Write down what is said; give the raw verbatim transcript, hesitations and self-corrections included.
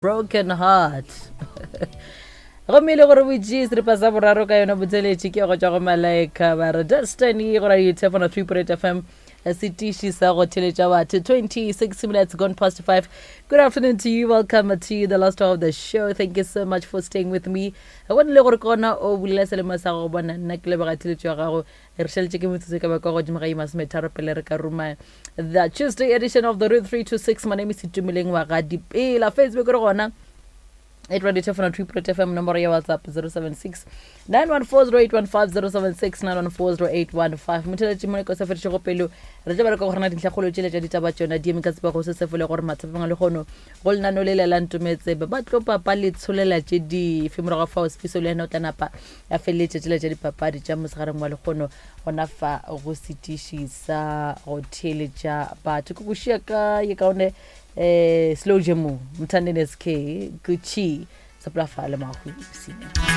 Broken heart. Gomme e le gore botši seripa sa boraro ka yona botsheletše ke go tšwa go Malaika ba re Destiny go radio Tefona three point eight F M, setiši sa go theletša batho. twenty-six minutes gone past five. Good afternoon to you. Welcome to the last hour of the show. Thank you so much for staying with me. Go le gore kona o bulela selemo sa go bona nna ke leboga theletšo ya gago. Re šaletše ke metsotso ka ba kwa godimo ga ye masometharo pele re ka ruma the Tuesday edition of the Root three two six. My name is Itumeleng wa ga Dipela. Facebook re gona at Radio Tefona three point F M, nomoro ya WhatsApp zero seven six nine one four zero eight one five, zero seven six nine one four zero eight one five. Motheletši mo ko sa fedišego pelo re tla bereka go rena dintlhakgolo tšele tša ditaba tšona di eme ka tsebego se se fole gore mathapeng a lekgono go lenano le le la ntometsebe ba tlo papa le tsholela tše dife morago fao Sefiso le yena o tla napa a feleletše tšele tša dipapadi tša mosegareng wa lekgono gona fa go setiši sa go theeletša batho. Ke go šia ka ye kaone eh slow jamo mthandeni S K Gucci sepela fa le mahu sina.